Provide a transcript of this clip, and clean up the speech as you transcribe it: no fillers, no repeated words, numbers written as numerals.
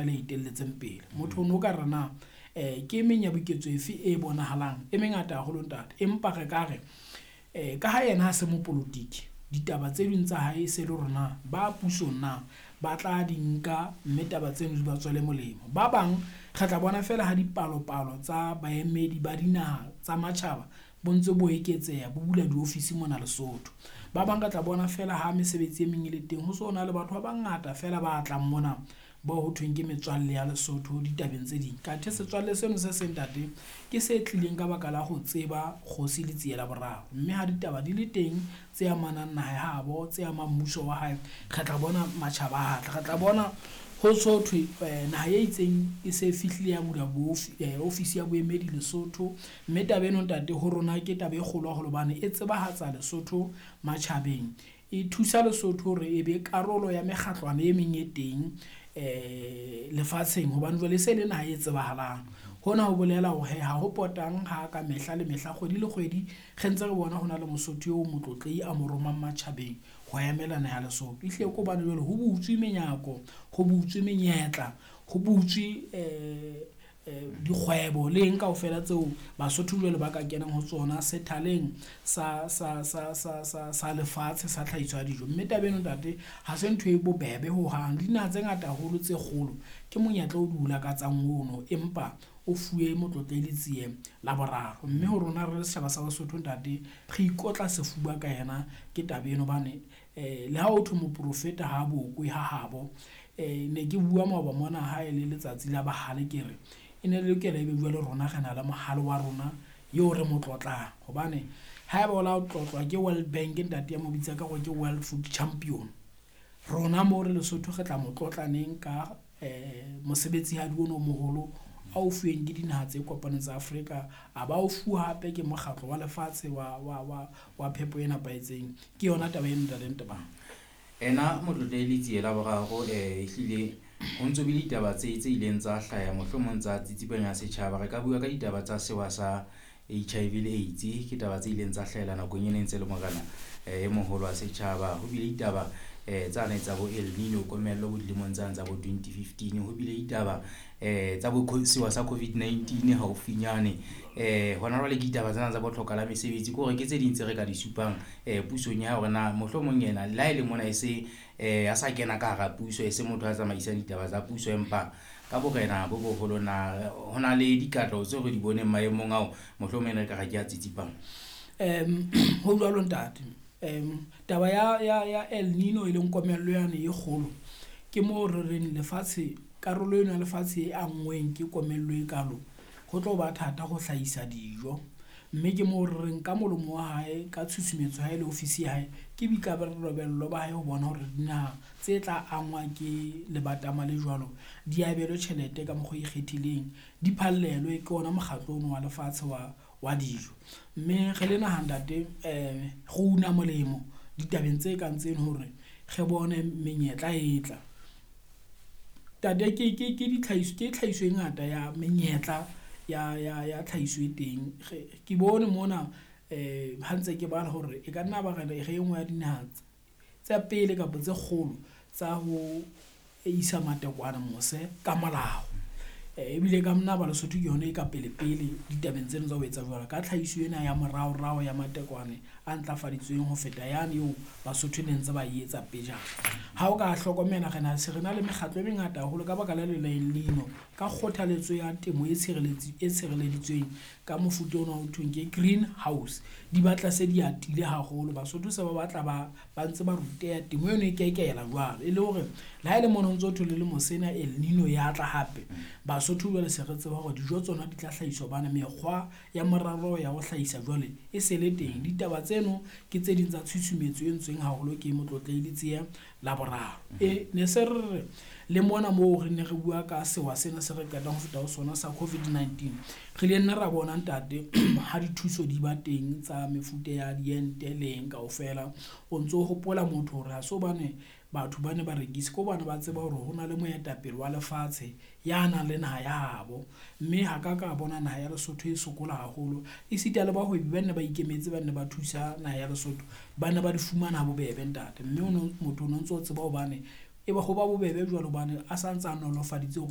Le etelletseng pele motho o no ka re na ke e meng ya boketso efe e bonahalang e mengata haholo ntate, empa re ka re ka ha yena ha se mopolotiki, ditaba tse ding tsa hae se le rona ba pusong na ba tla di nka, mme taba tseno di ba tswele molemo. Ba bang re tla bona feela ha dipalopalo tsa baemedi ba dinaha tsa matjhaba bo ntse bo eketseha, bo bula diofisi mona Lesotho. Ba bang re tla bona feela ha mesebetsi e meng e le teng, ho so na le batho ba bangata feela ba tlang mona bao ho thweng ke metswalle ya Lesotho ditabeng tse ding. Kathe setswalle seno se seng ntate ke se tlileng ka baka la ho tseba Kgosi Letsie la Boraro, mme ha ditaba di le teng tse amanang naha ya habo, tse amang mmuso wa hae, re tla bona matjhaba a tla, re tla bona ho so thwe naha e itseng e se fihlile ya bula ofisi ya boemedi Lesotho. Mme taba eno ntate ho rona ke taba e kgolo haholo hobane e tsebahatsa Lesotho matjhabeng, e thusa Lesotho hore e be karolo ya mekgatlwana e meng e teng lefatsheng, hobane jwale e se le naha e tsebahalang. Hona ho bolela hore ha ho potang ha ka mehla le mehla, kgwedi le kgwedi re ntse re bona hona le Mosotho eo motlotlehi a mo romang matjhabeng ho emela naha ya Lesotho. Ehlile ke hobane jwale ho butswe menyako, ho butswe menyetla, ho butswe dikgwebo le eng kaofela tseo Basotho jwale ba ka kenang ho tsona sethaleng sa lefatshe sa tlhahiso ya dijo. Mme taba eno ntate ha se ntho e bobebe hohang. Le dinaha tse ngata haholo tse kgolo ke monyetla o di o lakatsang ono, empa o fuwe Motlotlehi Letsie la Boraro. Mme ho rona re le setjhaba sa Basotho ntate, re ikotla sefuba ka yena ke taba eno, hobane le ha ho thwe moprofeta ha bokwe ha habo. Ne ke bua maoba mona ha e le letsatsi la bahale, ke re e ne lokela ebe jwale rona re na le mohale wa rona eo re mo tlotlang, hobane haeba o la tlotlwa ke World Bank ntate ya mo bitsa ka hore ke World Food Champion, rona mo re Lesotho re tla mo tlotlaneng ka mosebetsi hadi ono o moholo a o fuweng ke dinaha tse kopaneng tsa Afrika, a ba o fuwa hape ke mokgatlo wa lefatshe wa phepo e nepahetseng. Ke yona taba eno ntate Ntebang. Ena Motlotlehi Letsie la Boraro ehlile ho ntso bile ditaba tse ileng tsa hlaya mohlomong tsa tsitsipanya setjhaba. Re ka bua ka ditaba tsa sewa sa HIV le AIDS, ke taba tse ileng tsa hlahela nakong e neng ntse le morena e moholo wa setjhaba. Ho bile ditaba tsane tsa bo El Nino, komello bo dilemong tsane tsa bo 2015. Ho bile ditaba tsa bo sewa sa COVID-19 haufinyane. Hona jwale ke ditaba tsena tsa botlhoka la mesebetsi, ke hore ke tse ding tse re ka di supang pusong ya hore na mohlomong yena le ha e le mona e se a sa kena ka hara puso, e se motho a tsamaisang ditaba tsa puso, empa ka borena bo boholo na ho na le dikatleho tseo re di boneng maemong ao mohlomong re ka re ke a tsitsipang. Ho jwalo ntate. Taba ya El Nino e leng komello yane e kgolo, ke moo re reng lefatshe, karolo eno ya lefatshe e anngweng ke komello e kalo, ho tlo ba thata ho hlahisa dijo. Mme ke moo re reng ka molomo wa hae, ka tshusumetso ya hae le ofisi ya hae, ke boikarabelo ba hae ho bona hore dinaha tse tla angwa ke lebatama le jwalo di abelwe tjhelete ka mokgwa o ikgethileng, di phallelwe ke ona mokgatlo ono wa lefatshe wa dijo. Mme re le naha ntate, re una molemo ditabeng tse kang tseno hore re bone menyetla e tla. Tate ke ditlhahiso, ke tlhahiso e ngata ya menyetla ya tlhahiso e teng. Ke bone mona ha ntse ke bala hore e ka nna ba re e nngwe ya dinaha tsa pele kapa tse kgolo tsa ho isa matekwane mose ka molao. Ebile ka nna ba Lesotho ke yona e ka pele pele ditabeng tseno tsa ho etsa jwalo ka tlhahiso ena ya moraorao ya matekwane a ntlafaditsweng ho feta yane eo Basotho ne ntse ba e etsa pejana. Ha o ka hlokomela re na se re na le mekgatlo e mengata haholo ka baka la le El Nino, ka kgothaletso ya temo e tshireleditsweng ka mofuta ona ho thweng ke green house, di batla se di atile haholo. Basotho se ba batla ba ntse ba ruteha temo eno e kekela jwalo, e le hore le ha e le mona ho ntso thwe le lemo sena El Nino ya tla hape, Basotho jwale se re tseba hore dijo tsona di tla hlahiswa hobane mekgwa ya moralo ya ho hlahisa jwale e se le teng. Ditaba tseno ke tse ding tsa tshusumetso e entsweng haholo ke Motlotlehi Letsie la Boraro. Ne se re re le mona moo re ne re bua ka sewa sena se re qetang ho feta ho sona sa COVID-19, re ile nna ra bona ntate ha dithuso di ba teng tsa mefuta ya diente le eng kaofela. O ntso hopola motho hore ha se hobane batho ba ne ba rekise, ke hobane ba tseba hore ho na le moetapele wa lefatshe ya nang le naha ya habo. Mme ha ka ka bona naha ya Lesotho e sokola haholo, esita le bahwebi ba ne ba ikemetse, ba ne ba thusa naha ya Lesotho, ba ne ba di fumana ha bobebe ntate. Mme motho o no ntso tseba hobane E ba ho ba bobebe jwalo hobane a sa ntsa nolofaditse hore.